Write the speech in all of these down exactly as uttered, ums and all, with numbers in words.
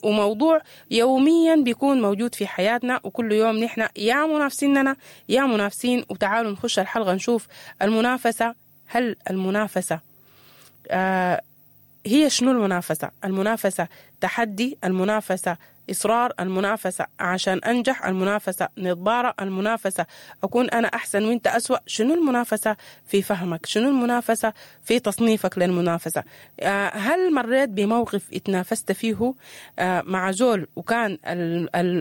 وموضوع يوميا بيكون موجود في حياتنا، وكل يوم نحن يا منافسيننا يا منافسين. وتعالوا نخش الحلقة نشوف المنافسة. هل المنافسة آه هي شنو؟ المنافسة المنافسة تحدي، المنافسة إصرار، المنافسة عشان أنجح، المنافسة نضارة، المنافسة أكون أنا أحسن وإنت أسوأ. شنو المنافسة في فهمك؟ شنو المنافسة في تصنيفك للمنافسة؟ آه هل مريت بموقف اتنافست فيه آه مع زول وكان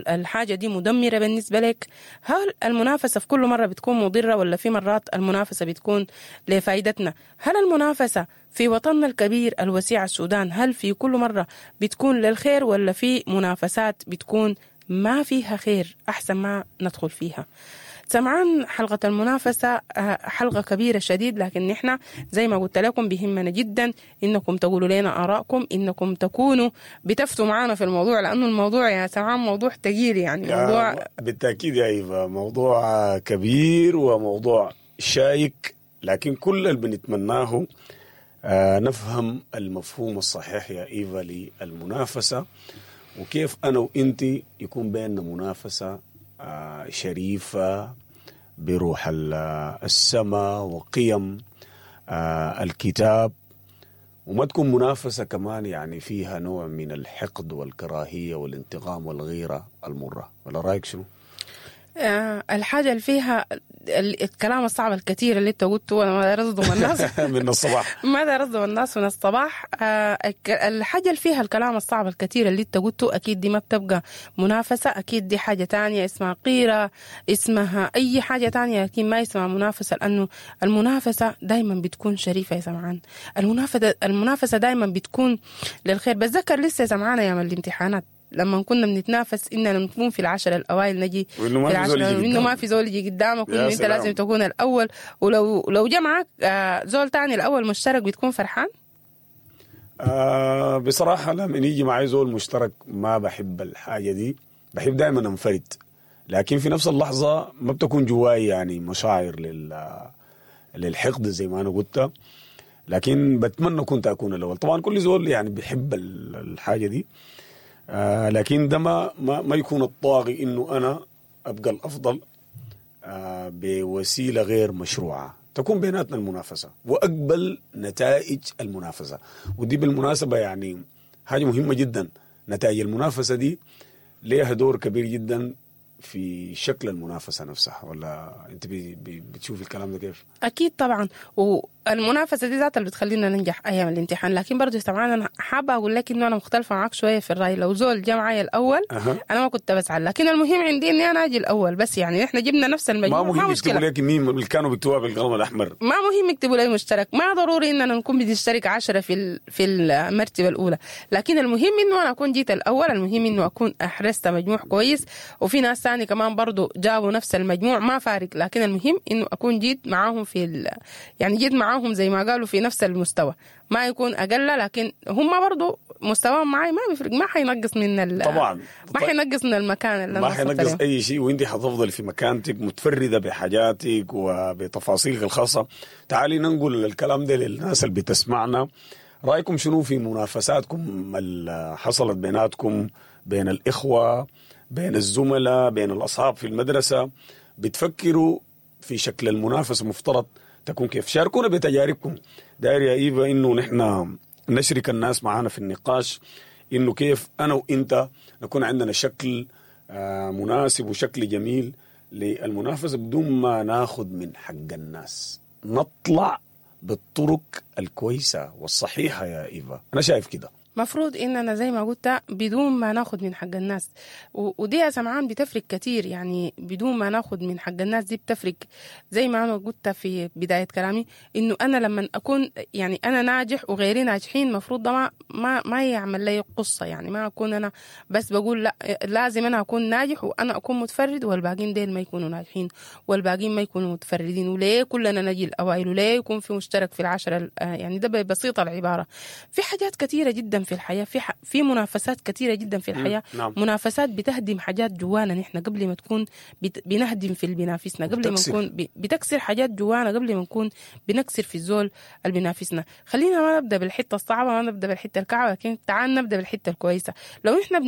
الحاجة دي مدمرة بالنسبة لك؟ هل المنافسة في كل مرة بتكون مضرة ولا في مرات المنافسة بتكون لفائدتنا؟ هل المنافسة في وطننا الكبير الوسيع السودان هل في كل مرة بتكون للخير ولا في منافسات بتكون ما فيها خير؟ أحسن ما ندخل فيها. سمعان حلقة المنافسة حلقة كبيرة شديد، لكن نحن زي ما قلت لكم بيهمنا جدا إنكم تقولوا لنا آراءكم، إنكم تكونوا بتفتوا معنا في الموضوع، لأنه الموضوع يا سمعان موضوع تقيل يعني. موضوع بالتأكيد يا إيفا موضوع كبير وموضوع شائك، لكن كل اللي بنتمناه آه نفهم المفهوم الصحيح يا إيفا للمنافسة، وكيف أنا وإنتي يكون بيننا منافسة آه شريفة بروح السماء وقيم آه الكتاب، وما تكون منافسة كمان يعني فيها نوع من الحقد والكراهية والانتقام والغيرة المرة. ولا رأيك شنو؟ آه الحاجة اللي فيها الكلام الصعب الكثير اللي انت قلته، انا ما داير اصدم الناس من الصباح ما داير اصدم الناس من الصباح. آه الحاجة اللي فيها الكلام الصعب الكثير اللي انت قلته اكيد دي ما بتبقى منافسة، اكيد دي حاجة تانية اسمها قيرة، اسمها اي حاجة تانية، لكن ما اسمها منافسة، لانه المنافسة دايما بتكون شريفة يا سمعان. المنافسة المنافسة دايما بتكون للخير. بتذكر لسه يا سمعان ايام الامتحانات لما كنا بنتنافس اننا نكون في العشرة الاوائل، نجي وانه ما في زول يجي انه ما في زول يجي قدامك، وانه انت لازم تكون الاول، ولو لو جا معك زول تاني الاول مشترك بتكون فرحان. آه بصراحة لما يجي معي زول مشترك ما بحب الحاجة دي، بحب دائما انفرد، لكن في نفس اللحظة ما بتكون جواي يعني مشاعر لل للحقد زي ما انا قلت، لكن بتمنى كنت اكون الاول. طبعا كل زول يعني بيحب الحاجة دي، آه لكن ده ما, ما, ما يكون الطاغي إنه أنا أبقى الأفضل آه بوسيلة غير مشروعة. تكون بيناتنا المنافسة وأقبل نتائج المنافسة، ودي بالمناسبة يعني حاجة مهمة جدا. نتائج المنافسة دي ليها دور كبير جدا في شكل المنافسة نفسها. ولا أنت بي بي بتشوف الكلام ده كيف؟ أكيد طبعا، والمنافسة دي ذاتها اللي بتخلينا ننجح أيام الامتحان. لكن برضو طبعا أنا حابة أقول لك إنه أنا مختلفة معاك شوية في الرأي. لو زول جا معايا الأول أه. أنا ما كنت بزعل، لكن المهم عندي إني أنا أجي الأول بس. يعني إحنا جبنا نفس المجموع، ما مهم يكتبوا لك مين اللي كانوا بيكتبوها بالقلم الأحمر، ما مهم يكتبوا لي مشترك، ما ضروري إننا نكون بنشترك عشرة في في المرتبة الأولى، لكن المهم إنه أنا أكون جيت الأول، المهم إنه أكون أحرزت مجموع كويس، وفي ناس ثاني كمان برضو جابوا نفس المجموع ما فارق، لكن المهم إنه أكون جيت معاهم في ال... يعني جيت معاهم زي ما قالوا في نفس المستوى، ما يكون أقل، لكن هم برضو مستواهم معي ما بيفرق، ما حينقص من ال... طبعا ما حينقص من المكان اللي ما حينقص أي شيء، وإنتي حتفضل في مكانتك متفردة بحاجاتك وبتفاصيلك الخاصة. تعالي ننقل الكلام ده للناس اللي بتسمعنا. رأيكم شنو في منافساتكم اللي حصلت بيناتكم، بين الإخوة، بين الزملاء، بين الأصحاب في المدرسة؟ بتفكروا في شكل المنافسة مفترض تكون كيف؟ شاركونا بتجاربكم. داير يا إيفا إنه نحن نشرك الناس معانا في النقاش، إنه كيف أنا وإنت نكون عندنا شكل مناسب وشكل جميل للمنافسة بدون ما ناخد من حق الناس، نطلع بالطرق الكويسة والصحيحة يا إيفا. أنا شايف كده مفروض إننا زي ما قلت بدون ما ناخد من حق الناس، ودي يا سمعان بتفرق كتير. يعني بدون ما ناخد من حق الناس دي بتفرق، زي ما أنا قلت في بداية كلامي إنه أنا لما أكون يعني أنا ناجح وغيري ناجحين مفروض ده ما ما, ما يعمل لي قصة. يعني ما أكون أنا بس بقول لا لازم أنا أكون ناجح وأنا أكون متفرد والباقين ديل ما يكونوا ناجحين والباقين ما يكونوا متفردين، وليه كلنا نجي الأوائل، وليه يكون في مشترك في العشرة. يعني ده بسيطة العبارة. في حاجات كثيرة جدا في الحياة، في ح... في منافسات كثيرة جدا في الحياة. نعم. منافسات بتهدم حاجات جوانا نحن قبل ما تكون بت... بنهدم في اللي بينافسنا، قبل ما نكون ب... بتكسر حاجات جوانا قبل ما نكون بنكسر في الزول اللي بينافسنا. خلينا ما نبدا بالحتة الصعبة، ما نبدا بالحتة الكعبة، لكن تعال نبدا بالحتة الكويسة. لو احنا